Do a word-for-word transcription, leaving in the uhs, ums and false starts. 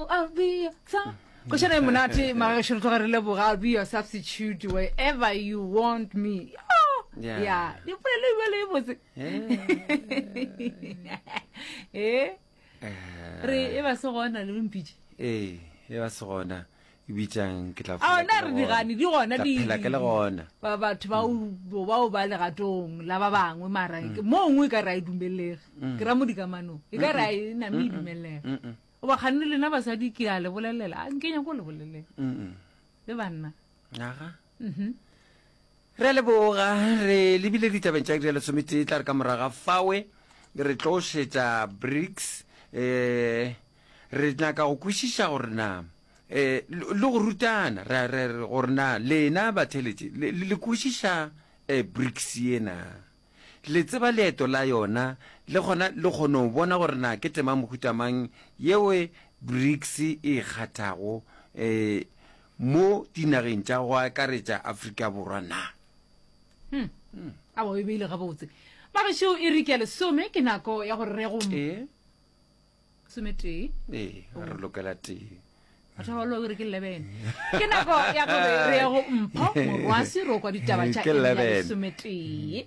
Oh, I'll be your su- Košana e monate magešo re tloga re leboga I'll be your substitute wherever you want me. Oh, Yeah. yeah. Dipolelo e bjalo e botse. Eh, re e ba se gona le mpitše. Ee, e ba se gona. E bitsang ke tla A phela na ke re le di gona. gane di gona Tla di phela ke le gona. Ba batho ba o bao ba legatong la ba bangwe mara ke- mo nngwe e ka re a e dumelege. Ke ra mo dikamanong. E ka re a e name e dumelege. Mm-mm. Goba kganne lena basadi ke a le bolelela. A nke nyako le bolelela. Mm-mm. Le banna. Aga. Mhm. Re a leboga re lebile ditabeng tša iri ya lesometee tla re ka moraga fawe re tlo šetša BRICS eh re nyaka go kwešiša gore na eh le le go rutana re re re gore na lena batheletši le le kwešiša eh BRICS yena le tseba leeto la yona le gona le kgone go bona gore na ke tema mohuta mang yeo BRICS e kgathago eh mo dinageng tša go akaretša Afrika Borwa na. Hmm. A bo e beile gabotse. Magešo e re ke ya lesome ke nako ya gore re go Ee, sometee. ee, re lokela tee. Batho ba balo re ke eleven. Ke nako ya gore re ye go Mpho Morwasi ro kwa ditaba tša Ke iri ya eleven. lesometee.